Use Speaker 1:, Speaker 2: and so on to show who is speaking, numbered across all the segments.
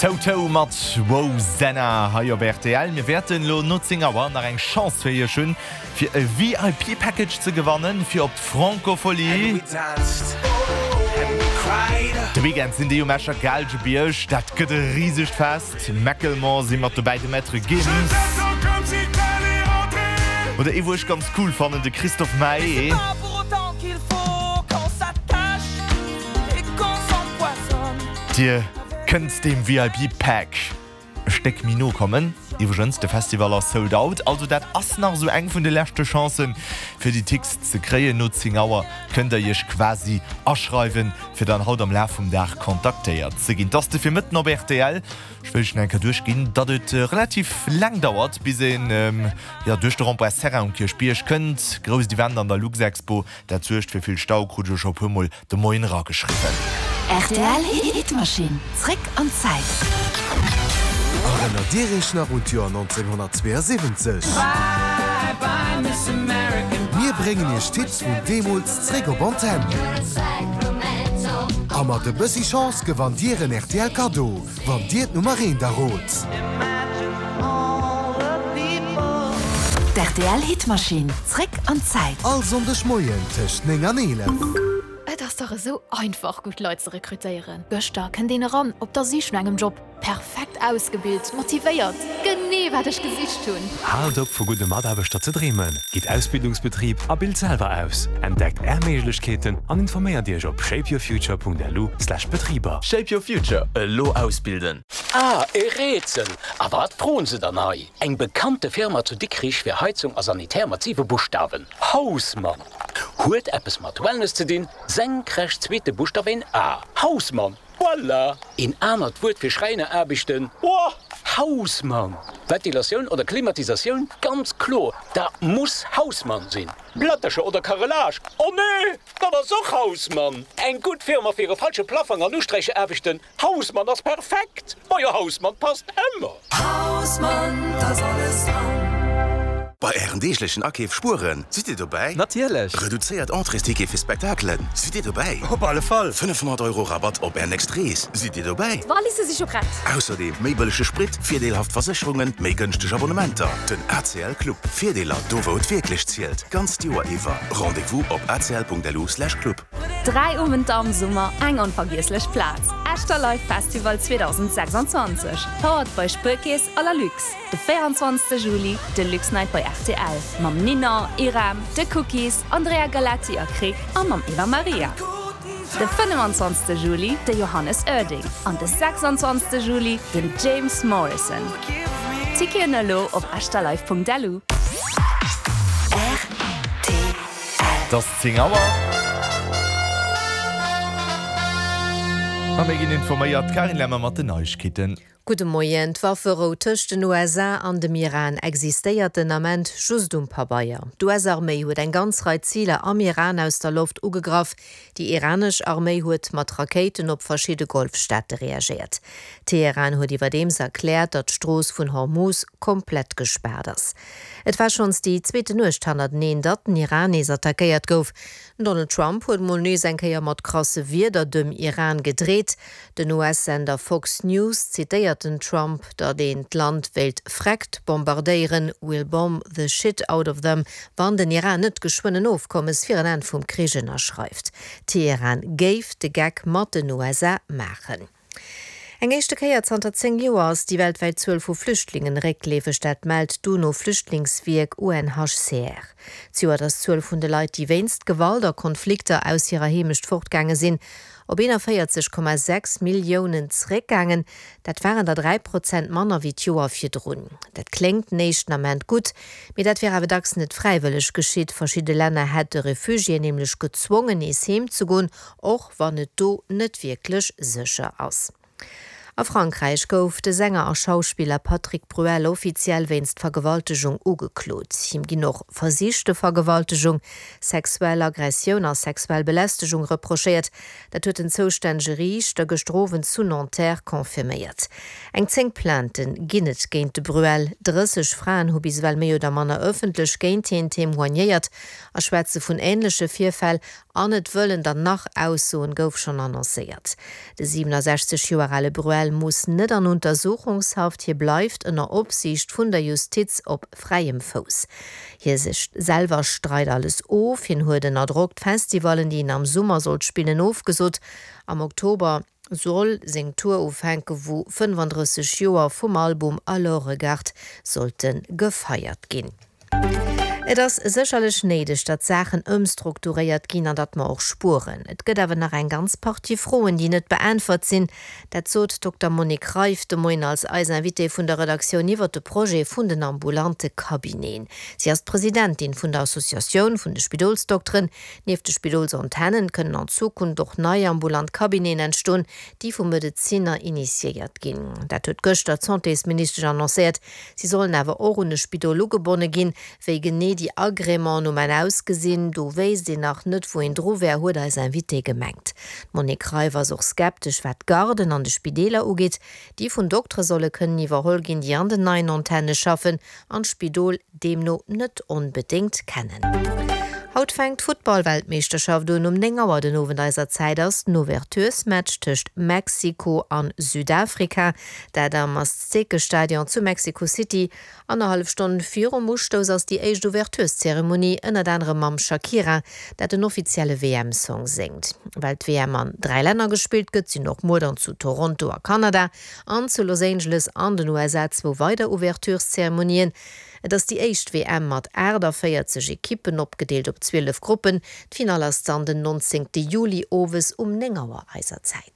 Speaker 1: Toto mat Rosanna hei op rtl. Mir wäerten elo no 10 Auer nach eng Chance fir iech hunn, fir e VIP Package ze gewannen fir op d'Francofolies. De Weekend sinn déi um Escher Gaalgebierg. Dat gëtt e risegt Fest. Macklemore si mat dobäi, de Maître Gims oder ee wou ech ganz cool fannen, de Christophe Maé. Dir kënnt deem VIP Pack e Stéck méi no kommen. Iwwregens, de Festival ass sold out, also dat ass nach esou eng vun de leschte Chancen fir déi Tix ze kréien. No 10 Auer kënnt der iech quasi aschreiwen, fir dann haut am Laf vum Dag kontaktéiert ze ginn. 't ass de Virmëtten op rtl. Ech wëll iech nach eng Kéier duerchginn, datt et relativ laang dauert, bis een jo duerch de Rond-point Serra um Kierchbierg kënnt. Grousst Event an der Luxexpo, dat suergt fir vill Stau, krut ech elo scho e puer Mol de Moien erageschriwwen.
Speaker 2: Rtl Hitmaschinn, zréck an d'Zäit.
Speaker 3: Erënnert Dir Iech nach un d'Joer 1972? Mir bréngen Iech d'Hits vun deemools zréck op Antenn. A mat e bëssi Chance gewannt Dir en rtl Kaddo, wann Dir d'Nummer eent errot.
Speaker 2: D'RTL Hitmaschinn, zréck an d'Zäit.
Speaker 3: All Sonndeg Moien tëscht 9 an 11.
Speaker 4: Et ass dach esou einfach gutt Leit ze rekrutéieren. Gëschter kënnt een eran op der Sich no engem Job. Perfekt ausgebilt, motivéiert, genee wat ech gesicht hunn!
Speaker 5: Haalt op vu gudde Mataarbechter ze dreemen, gitt Ausbildungsbetrib a bilt selwer aus. Entdeckt Är Méiglechkeeten an informéiert Iech op shapeyourfuture.lu/betriber.
Speaker 6: Shape your future, elo ausbilden!
Speaker 7: Ah, e Rätsel! A wat froen se dann hei? Eng bekannte Firma zu Dikrich fir Heizung a Sanitär mat siwe Buschtawen, Hausmann! Huet eppes mat Wellness ze dinn, senkrecht zweete Buschtaf een A, Hausmann! Voilà! Een anert Wuert fir Schräineraarbechten, Boah! Hausmann! Ventilatioun oder Klimatisatioun, ganz kloer, dat muss Hausmann sinn! Plättercher oder Carrelage, oh nee, dat ass och Hausmann! Eng gutt Firma fir e falsche Plaffang an Usträicheraarbechten, Hausmann ass perfekt! Majo, Hausmann passt ëmmer!
Speaker 8: Hausmann, 't ass alles dran!
Speaker 9: Bei Ären deeglechen Akeef spueren, sidd Dir dobäi?
Speaker 10: Natierlech!
Speaker 9: Reduzéiert Entréesticket fir Spektakelen, sidd Dir dobäi?
Speaker 10: Op alle Fall!
Speaker 9: 500 Euro Rabatt op Är nächst Rees, sidd Dir dobäi?
Speaker 11: D'Walisse si scho prett.
Speaker 9: Ausserdeem méi bëllege Sprit, virdeelhaft Versécherungen, méi gënschteg Abonnementer. Den ACL Club, Virdeeler do wou et wierklech zielt, d'ganzt Joer iwwer. Rendez-vous op acl.lu/club.
Speaker 11: 3 Owenter am Summer, eng onvergiesslech Plaz, Echter Live Festival 2026, powered by Spuerkeess a Lalux. De 24 Juli de Luxnight bei rtl mam Ninon, Irem, The Cookies, Andrea Galetti a Krick a mam Eva Maria. De 25 Juli de Johannes Oerding an de 26 Juli den James Morrison. Ticketen elo op echterlive.lu.
Speaker 1: Et ass 10 Auer. A mir ginn informéiert, d'Karin Lemmer mat den Neiegkeeten.
Speaker 12: Gudde Moien. D'Wafferou tëscht den USA an dem Iran existéiert den Ament just um Pabeier. D'US-Arméi huet eng ganz Rei Ziler am Iran aus der Loft ugegraff. Déi iranesch Arméi huet mat Rakéiten op verschidde Golfstaate reagéiert. Teheran huet iwwerdeems erkläert, datt d'Strooss vun Hormuz komplett gespaart ass. Et war schonns déi zweete Nuecht hannerteneen, datt den Iran nees attackéiert gouf. Den Donald Trump huet mol nees eng Kéier mat krasse Wierder dem Iran gedreet. Den US-Sender Fox News zitéiert den Trump, datt een d'Land wéilt freckt bombardéieren, we'll bomb the shit out of them, wann den Iran net geschwënn en Ofkommes fir en Enn vum Krich ënnerschreift. Teheran géif de Geck mat den USA maachen. Eng éischte Kéier zanter 10 Joer ass déi weltwäit Zuel vu Flüchtlingen réckleefeg, dat mellt d'UNO-Flüchtlingswierk UNHCR. Zejoert ass d'Zuel vun de Leit, déi wéinst Gewalt a Konflikter aus hirer Heemecht fortgaange sinn, op 41,6 Milliounen zeréckgaangen. Dat waren der 3 Prozent manner wéi d'Joer virdrun. Dat kléngt den éischten Ament gutt, mee dat wier awer dacks net fräiwëlleg geschitt. Verschidde Länner hätte Refugiéen nämlech gezwongen, nees heem ze goen, Och wann et do net wierklech sécher ass. A Frankräich gouf de Sänger a Schauspiller Patrick Bruel offiziell wéinst Vergewaltegung ugeklot. Him ginn och versichte Vergewaltegung, sexuell Aggressioun a sexuell Belästegung reprochéiert. Dat huet den zoustännege Riichter gëschter Owend zu Nanterre confirméiert. Eng 10 Plaintë ginn et géint de Bruel. 30 Fraen hu bis ewell méi oder manner ëffentlech géint hien témoignéiert a schwätze vun änleche Virfäll. An et wëllen der nach aussoen, gouf schonn annoncéiert. De 67 Joer ale Bruel muss net an Untersuchungshaft, hie bleift ënner Opsiicht vun der Justiz op fräiem Fouss. Hie sech selwer streit alles of, hien huet ënner Drock d'Festivallen, déi en am Summer sollt spillen, ofgesot. Am Oktober soll seng Tour ufänken, wou 35 Joer vum Album Alors Regarde sollte gefeiert ginn. Et ass sécherlech néideg, datt Saachen ëmstrukturéiert ginn an datt mer och spueren. Et gëtt awer nach eng ganz Partie Froen, déi net beäntwert sinn. Dat sot d'Dokter Monique Reiff de Moien als eis Invitée vun der Redaktioun iwwert de Projet vun den ambulante Cabineten. Si ass d'Presidentin vun der Associatioun vun de Spidolsdokteren. Nieft de Spidolsantennen kënnen an Zukunft och nei ambulant Cabineten entstoen, déi vu Medezinner initiéiert ginn. Dat huet gëschter d'Santésministesch annoncéiert. Si sollen awer och un e Spidol ugebonne ginn. Wéi genee déi Agrémenten um Enn ausgesinn, do wéisst een nach net, wou een dru wär, huet eis Invitée gemengt. D'Monique Reiff ass och skeptesch, wat d'Garden an de Spideeler ugeet, déi vun Doktere solle kënnen iwwerholl ginn, déi an den neien Antenne schaffen an d'Spidol deemno net onbedéngt kennen. Haut fänkt d'Futtball-Weltmeeschterschaft un. Um 9 Auer den Owend eiser Zäit ass den Ouverturesmatch tëscht Mexiko an Südafrika. Dat am Aztekestadion zu Mexico City. Annerhallef Stonn virum Ustouss ass déi éischt Ouvertureszeremonie, ënnert anerem mam Shakira, dat den offizielle WM-Song séngt. Well d'WM an 3 Länner gespillt gëtt, sinn och muer dann zu Toronto a Kanada an zu Los Angeles an den USA zwou weider Ouvertureszeremonien. Et ass déi éischt WM mat 48 Ekippen, opgedeelt op 12 Gruppen. D'Finall ass dann den 19 Juli owes um 9 Auer eiser Zäit.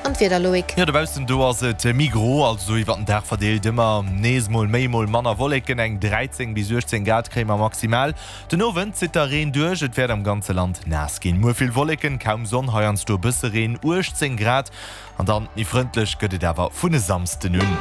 Speaker 12: An d'Wieder, Loïc?
Speaker 1: Jo, dobaussen do ass et méi gro, also iwwer den Dag verdeelt ëmmer nees mol méi, mol manner Wolleken. Eng 13 bis 18 Grad kréie mer maximal. Den Owend zitt da Reen duerch, et wäert am ganze Land naass ginn. Muer vill Wolleken, kaum Sonn, heiansdo e bësse Reen, 18 Grad. An dann méi frëndlech gëtt et awer vun e Samsden un.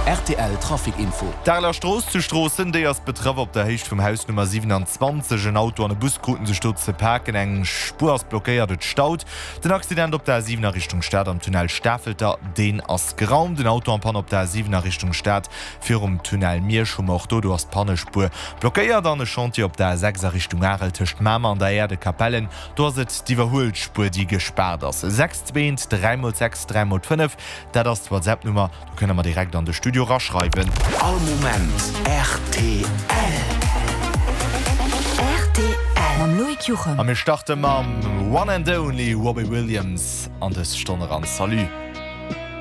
Speaker 9: Rtl Trafic Info.
Speaker 1: D'Areler Strooss zu Stroossen, déi ass betraff. Op der Héicht vum Haus Nummer 27. En Auto an e Bus kruten sech do ze paken. Eng Spuer ass blockéiert, et staut. Den Accident op der A7 a Richtung Stad am Tunnel Stafelter, deen ass geraumt. En Auto en Panne op der A7 a Richtung Stad virum Tunnel Miersch hu mer och do. Do ass d'Pannespuer blockéiert. An e Chantier op der A6 a Richtung Arel tëscht Mamer an der Aire de Capellen. Do ass et d'Iwwerhuelspuer, déi gespaart ass. 6 2 3 mol 6 3 mol 5, dat ass d'WhatsApp-Nummer. Do kënnt der mer direkt an de Studio raschreiwen.
Speaker 9: All Moment rtl.
Speaker 2: Rtl mam Loïc Juchem.
Speaker 1: A mir starte mam One and Only Robbie Williams an dës Stonn eran. Salut.